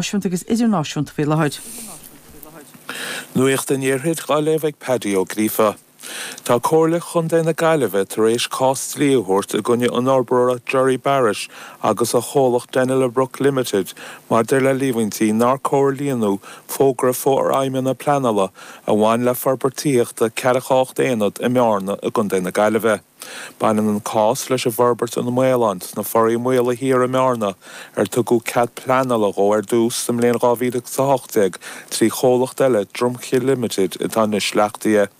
Náisiúnta agus idirnáisiúnta faoi láthair. Nuacht an Iarthair á léamh ag Paddy Ó Gríofa. Tá Comhairle Chontae na Gaillimhe tar éis cás dlí a thabhairt i gcoinne an fhorbróra Gerry Barrett agus a chomhlacht Denylabrook Limited maidir le líomhaintí nár comhlíonadh fógra forfheidhmithe pleanála a bhain le forbairt tithíochta 48 aonad i mBearna i gContae na Gaillimhe. Baineann an cás leis an bhforbairt An Maolán sna Foraí Maola Thiar i mBearna, ar tugadh cead pleanála dhó ar dtús sa mbliain 2018 trí chomhlacht eile, Drumchill Limited, atá anois leachtaithe.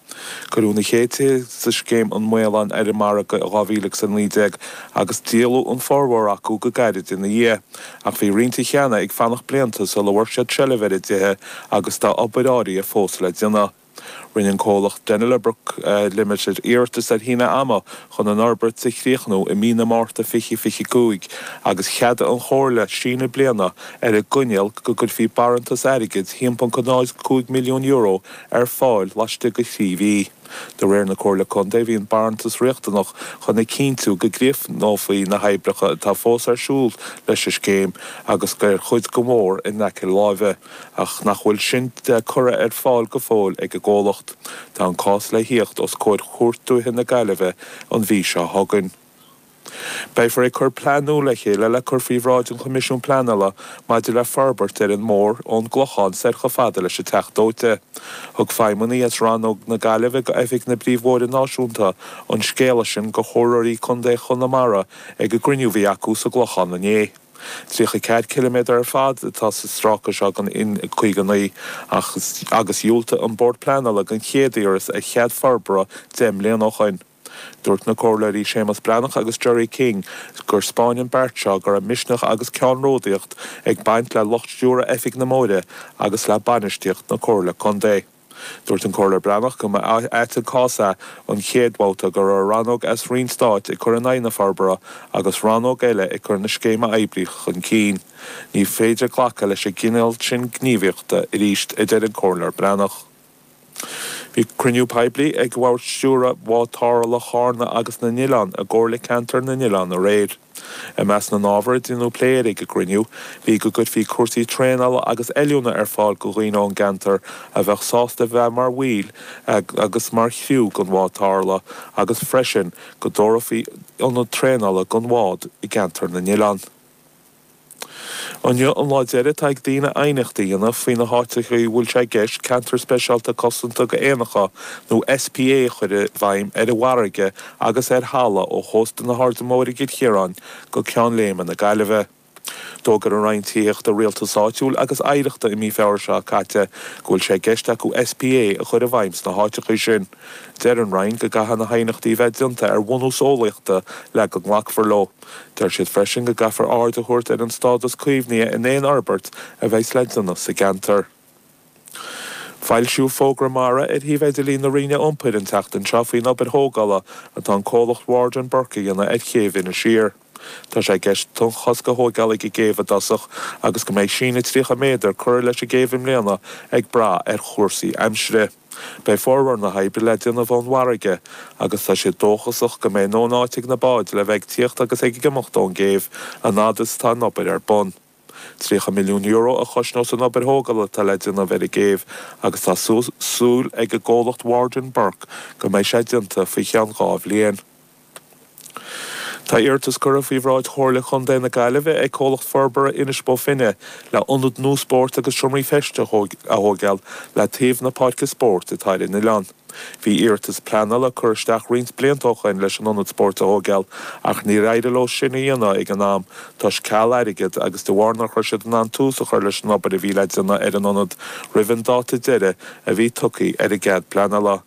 Cuireadh na chéad tithe sa scéim An Maolán ar an margadh i 2019 agus díoladh an formhór acu go gairid ina dhiaidh, ach bhí roinnt cheana ag fanacht blianta sula bhfuair siad seilbh ar a dtithe agus tá obair áirithe fós le déanamh. Rinne an comhlacht Denylabrook Limited iarratas ar shíneadh ama chun an fhorbairt a chríochnú i mí na Márta 2025 agus cheadaigh an Chomhairle síneadh bliana ar an gcoinníoll go gcuirfí barántas airgid €1.05 milliún ar fáil laistigh de thrí mhí. De réir na Comhairle Contae bhí an barántas riachtanach chun a chinntiú go gcríochnófaí na hoibreacha atá fós ar siúl leis an scéim agus ar chuid go mór in aice láimhe. ach nach bhfuil sin curtha ar fáil go fóill ag an gcomhlacht. Tá an cás le thíocht os comhair Chúirt Dúiche na Gaillimhe an mhí seo chugainn. Beifear ag cur plean nua le chéile le cur faoi bhráid an Choimisiúin Pleanála maidir le forbairt ar an mbóthar ón gClochán soir chomh fada leis an Teach Dóite. Thug feidhmeannaigh as Rannóg na Gaillimhe go Oifig na bPríomhbhóithre Náisiúnta an scéala sin go chomhairleoirí contae Chonamara ag an gcruinniú a bhí acu sa gClochán inné. 34 ciliméadar ar fad atá sa stráice seo den N59 ach agus dhiúltaigh an Bord Pleanála don chéad iarratas ar chead forbartha 10 mbliana ó shoin. Dúirt na Comhairleoirí Séamus Breathnach agus Gerry King gur 'spáin an beart seo go raibh misneach agus ceannródaíocht ag baint le lucht stiúrtha Oifig na mBóithre agus le bainistíocht na Comhairle Contae. Dúirt an Comhairleoir Breathnach go mba ait an cás é an chéad bhabhta go raibh rannóg as Roinn Stáit ag cur in aghaidh na forbartha agus rannóg eile ag cur na scéime oibre chun cinn. Ní féidir glacadh leis an gcineál sin gníomhaíochta arís, a deir an Comhairleoir Breathnach. Bhí cruinniú poiblí ag Bhord Stiúrtha Bhád Tarrthála Chárna agus na nOileán i gComhairle Ceantair na nOileán aréir. I measc na n-ábhar a deineadh plé air ag an gcruinniú, bhí go gcuirfí cúrsaí traenála agus oiliúna ar fáil go dhaoine ón gceantar a bheadh sásta bheith mar bhaill agus mar chriú den bhád tarrthála agus freisin go dtabharfaí ionad traenála don bhád i gceantar na n-oileán. Inniu an lá deiridh atá ag daoine aighneacht a dhéanamh faoi na háiteacha a bhfuil sé i gceist Ceantar Speisialta Cosanta go Éanacha nó SPA a chur i bhfeidhm ar an bhfarraige agus ar thalamh ó chósta na hAirde Móire i gCill Chiaráin go Ceann Léime na Gaillimhe. D'fhógair an Roinn Tithíochta, Rialtais Áitiúil agus Oidhreachta i mí Feabhra seo caite go bhfuil sé i gceist acu SPA a chur i bhfeidhm sna háiteacha sin. Deir an Roinn go gcaithfidh na haighneachtaí a bheith déanta ar bhunús eolaíochta le go nglacfar leo. Deir siad freisin go gcaithfear aird a thabhairt ar an stádas caomhnaithe in aon fhorbairt a bheas le déanamh sa gceantar. Foilsíodh fógra mara ar shuíomh idirlín na Roinne Iompair an tseachtain seo faoin obair thógála atá an comhlacht Ward and Burke a dhéanamh ar chéibh Inis Oírr. Tá sé i gceist tonnchosc a thóigeáil ag an gcéibh i dtosach agus go mbeidh síneadh 30 méadar curtha leis an gcéibh i mbliana ag brath ar chúrsaí aimsire. Beidh formhór na hoibre le déanamh ón bhfarraige agus tá siad dóchasach go mbeidh a ndóthain áit ag na báid le bheith ag tíocht agus ag imeacht ón gcéibh an fhad is atá an obair ar bun. €30 milliún a chosnós an obair thógála atá le déanamh ar an gcéibh agus tá súil ag an gcomhlacht Ward and Burke go mbeidh sé déanta faoi cheann dhá bhliain. Tá iarratas curtha faoi bhráid Chomhairle Chontae na Gaillimhe ag comhlacht forbartha Inis Bó Finne le ionad nua spóirt agus seomraí feiste a thóigeáil le taobh na páirce spóirt atá ar an oileán. Bhí iarratas pleanála curtha isteach roinnt blianta ó shoin leis an ionad spóirt a thóigeáil ach níor éirigh leo sin a dhéanamh ag an am toisc ceal airgid agus de bharr nach raibh siad in ann tús a chur leis an obair a bhí le déanamh ar an ionad roimh an dáta deiridh a bhí tugtha ar an gcead pleanála.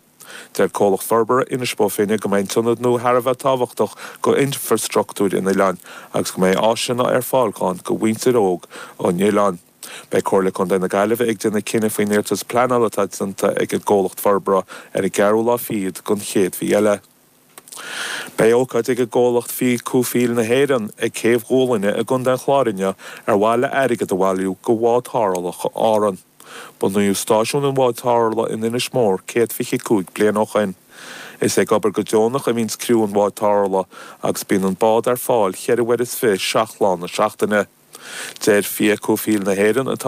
Deir comhlacht forbartha Inis Bó Finne go mbeidh an t-ionad nua thar a bheith tábhachtach go infreastruchtúr an oileáin agus go mbeidh áiseanna ar fáil ann go mhuintir óg an oileáin. Beidh Comhairle Contae na Gaillimhe ag déanamh cinneadh faoin iarratas pleanála atá déanta ag an gcomhlacht forbartha ar an gceathrú lá fichead den chéad mhí eile. Beidh ócáid ag an gcomhlacht Fiadh Cú Fiail na hÉireann ag Céibh Dhúlainne i gContae an Chláir inniu ar mhaithe le airgead a bhailiú go Bhád Tarrthála Árann. Bunaíodh stáisiún an Bháid Tarrthála in Inis Mór 125 bliain ó shoin. Is ag obair go deonach a bhíonns criú an Bháid Tarrthála agus bíonn an bád ar fáil cheithre uair is 27 lá na seachtaine. Deir Fiach Comhshaoil na hÉireann, atá.